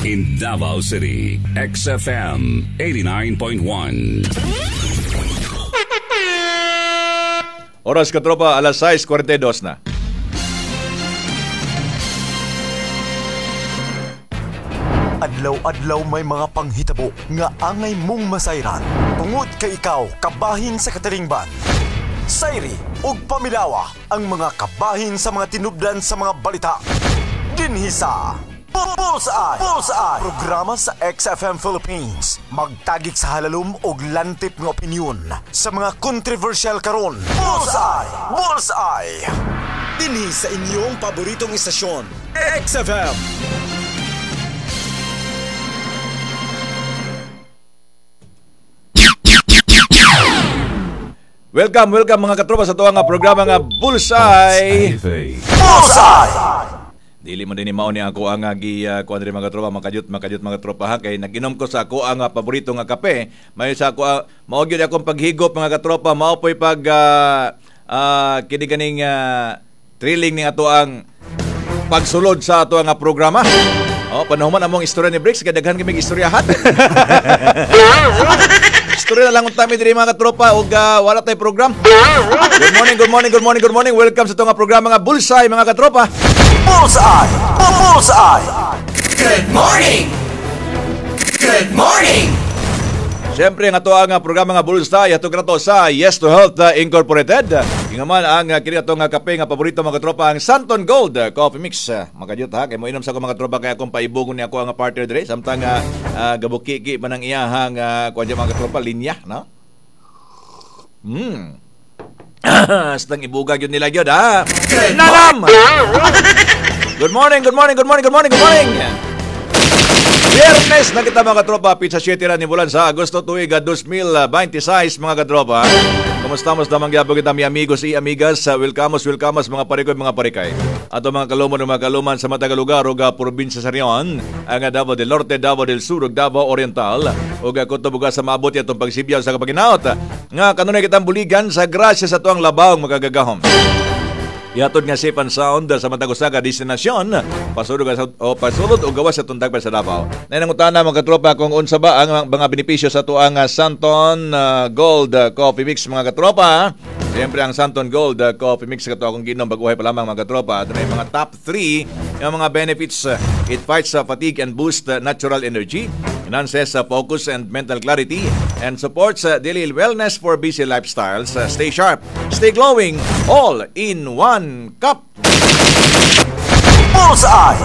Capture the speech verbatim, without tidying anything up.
In Davao City, X F M eighty-nine point one. Oras, katropa, alas sais kuwarenta y dos na. Adlaw-adlaw may mga panghitabo nga angay mong masayran. Tungod kay ikaw kabahin sa katilingban. Sayri ug pamilawa ang mga kabahin sa mga tinubdan sa mga balita. Dinhi sa Bullseye! Bullseye! Programa sa X F M Philippines. Magtagik sa halalom og lantip nga opinyon sa mga kontrobersyal karon. Bullseye! Bullseye! Dinhi sa inyong paboritong istasyon, X F M. Welcome, welcome, mga katropa, sa tuwa nga programa nga Bullseye! Bullseye! Dili man din ni mao ni ako ang gi uh, kuan diri, mga tropa, makajut makajut, mga tropa, ha, kay nag-inom ko sa ako ang uh, paborito nga kape. May sa ako uh, mao gyud akong paghigop, mga katropa, mao po'y pag uh, uh, kini ganing uh, thrilling ning ato ang pagsulod sa ato nga programa. Oh, panahuman among istorya ni Bricks, kay daghan kami istoryahan. Istorya na lang unta mi diri, mga katropa, ug uh, wala tay program. Good morning, good morning, good morning, good morning. Welcome sa ato nga programa nga Bullseye, mga katropa. Bullseye! Bullseye! Good morning! Good morning! Siyempre, ang ato ang programa nga Bullseye ato krato sa Yes to Health uh, Incorporated. Ingaman ang uh, kini ato nga kape nga paborito, mga tropa, ang Santon Gold uh, Coffee Mix. Uh, Makajut ha, kay mo inom sa ako, mga tropa, kay akong paibugon ni ako ang partner dire samtang uh, uh, gabukiki man ang iyahang uh, kuan dyan, mga tropa, linya, no? Hmm. Astang ibuga gyud nila gyud ha. Nanam! Good morning, good morning, good morning, good morning, good morning. Biyernes na kita, mga katropa, petsa siyete ra ni bulan sa Agosto, tuig dalawang libo dalawampu't sais, mga katropa. Kumusta mo sa gyapon kita, mi amigos y amigas, welcome, welcome, mga parikoy, mga parikay. Ato mga kalumon ug mga kaluman sa matag lugar ug probinsya sa rehiyon, ang Davao del Norte, Davao del Sur ug Davao Oriental ug kutob ug sa maabot atong pagsibyaw sa kapaginaot. Nga kanunay kitang buligan sa grasya sa tuang labawng makagagahom. Ihatod nga safe and sound sa matag usa ka destinasyon pasulod sa o pasulod o gawas sa tundag pa sa Davao. Nay nangutana, mga katropa, kung unsa ba ang mga benepisyo sa tuang ah, Santon ah, Gold ah, Coffee Mix, mga katropa. Siyempre, ang Santon Gold ah, Coffee Mix kato akong ginom baguhay pa lamang, mga katropa. Ito na yung mga top three yung mga benefits. It fights uh, fatigue and boosts uh, natural energy, enhances uh, focus and mental clarity, and supports uh, daily wellness for busy lifestyles. Uh, stay sharp, stay glowing, all in one cup. Bullseye!